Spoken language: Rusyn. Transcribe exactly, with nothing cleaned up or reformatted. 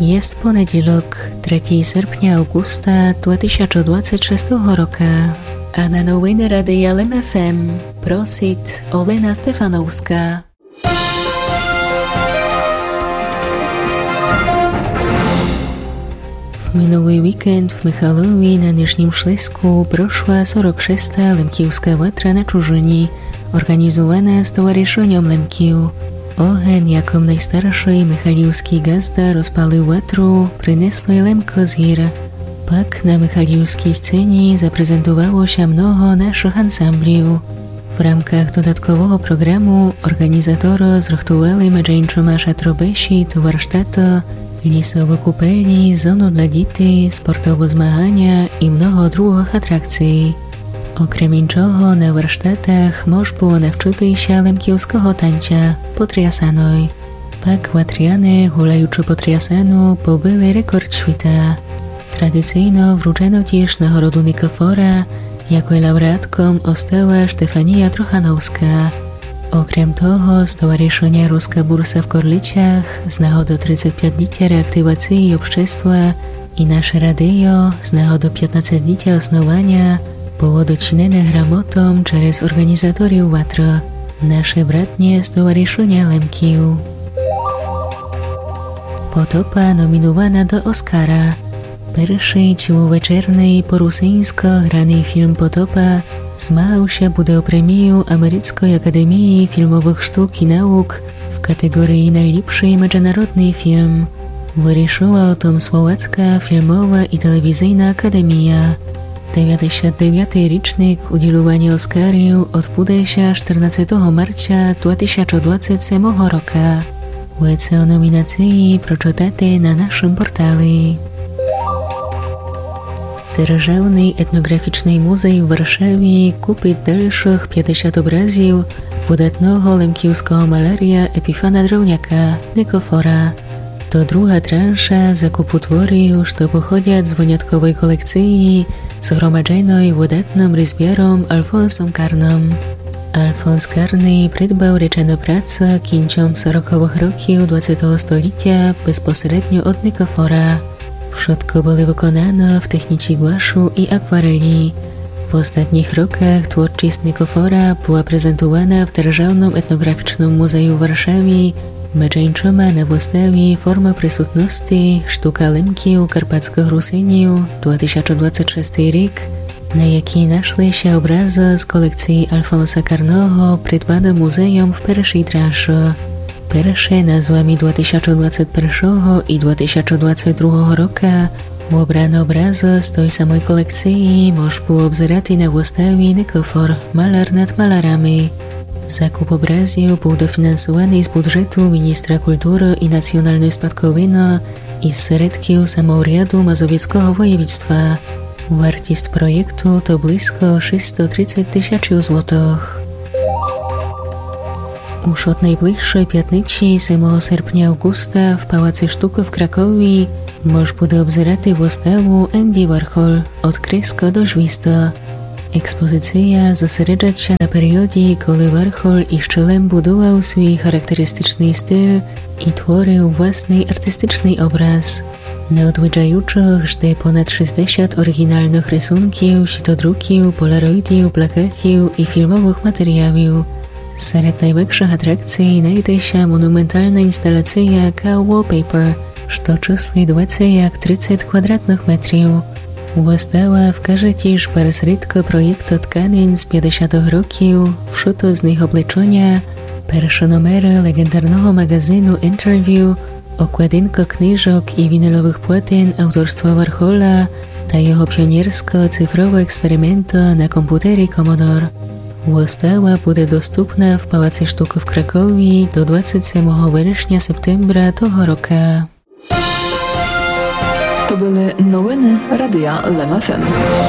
Єст понедїлок, третїй серпня, авґуста два тисячы двадцет шестого рока. А на новины Радия Лем ФМ просит Олена Стефановска. В минулый вікенд в Михайлові на Нижнїм Шлеску прошла сорок шеста Лемківска ватра на чужыні, орґанізувана з Товаришыньом Лемків. Огень, якым найстаршый михайлівскій ґазда розпалив ватру, принесли Лемкы з гір. Пак на михайлівскій сцені запрезентувало ся много нашых ансамблів. В рамках додаткового програму орґанізаторы зрыхтували медже іншыма шатробесід, варштаты, лісовы купелі, зону для дітей, спортовы змаганя і много другых атракцій. Окрем іншого, на варштатах мож было навчыти ся лемківского танця потрясаной. Пак ватряне, гуляючы потрясану, побили рекорд світа. Традицийно вручено тіж нагороду Никифора, якой лауреатком остала Штефанія Трохановска. Окрем того, з Товаришыня Руска бурса в Корлицях з нагоды тридцет пятилітя реактивациі общества і Наше радийо з нагоды пятнадцетилітя основаня было дочинене грамотом через орґанізаторів ватры Наше братнє Товаришыня Лемків. Потопа номінувана до Оскара. Першый ціловечерный по русиньско граный фільм Потопа змагав ся буде о премію Америцкой академії фільмовых штук і наук в катеґориі Найліпшый меджинародный фільм. Вырішыла о том Словацка фільмова і телевізийна академія. Девятдесят девятый річник удїлюваня Оскарів одбуде ся штирнадцетого марця два тисячы двадцет семого рока. Веце о номінациі прочытате на нашым портали. Державный етноґрафічный музей в Варшаві купит дальшых пятдесят образів выдатного лемківского маляря Епіфана Дровняка, Никифора. То друга транша закупу творів, што походят з вынятковой колекциі, згромадженой выдатным різбяром Альфонсом Карным. Альфонс Карный придбав речены працы кінцом сороковых років двадцетого столітя безпосередньо од Никифора. Вшытко были выконаны в техніці гуашу і акварелі. В остатніх роках творчіст Никифора была презентувана в Державным етноґрафічным музею в Варшаві, меджи іншыма на выставі Формы присутности, штука Лемків, карпатскых Русинів, два тисячы двадцет шестый рік, на якій нашли ся образы з колекциі Альфонса Карного, придбаны музейом в першій транши. Перше назвами два тисячы двадцет першого і два тисячы двадцет другого рока. Обраны образы з той самой колекциі мож было обзерати на выставі Никифор, маляр над малярами. Закуп образів быв дофінансуваный з буджету міністра культуры і національной спадковины і з середків самоуряду Мазовецкого воєвідства. Вартіст проєкту то близко шістсто тридцет тисяч злотых. Уж од найближшой пятниці, семого серпня авґуста, в Палаці штукы в Кракові мож буде обзерати выставу Енді Вархол: од креска до звізды. Експозиція зосереджат ся на періоді, коли Вархол іщы лем будував свій характеристичный стиль і творив власный артистичный образ. На одвіджаючых жде понад шістдесят оріґіналных рисунків, сітодруків, полароїдів, плакатів і фільмовых матеріалів. Серед найвекшых атракцій найде ся монументална інсталація Cow Wallpaper, што чыслит веце як тридцет квадратных метрів. Выстава вкаже тіж пересрідкы проєкта тканин з пятдесятых років, вшыто з них облечоня, першы номеры леґендарного маґазину Interview, окладинкы книжок і віниловых платин авторства Вархола та його піонерскы цифровы експерименты на компютері Commodore. Выстава буде доступна в Палаці штукы в Кракові до двадцет семого верешня, септембра того рока. То были новины Радия Лем ФМ.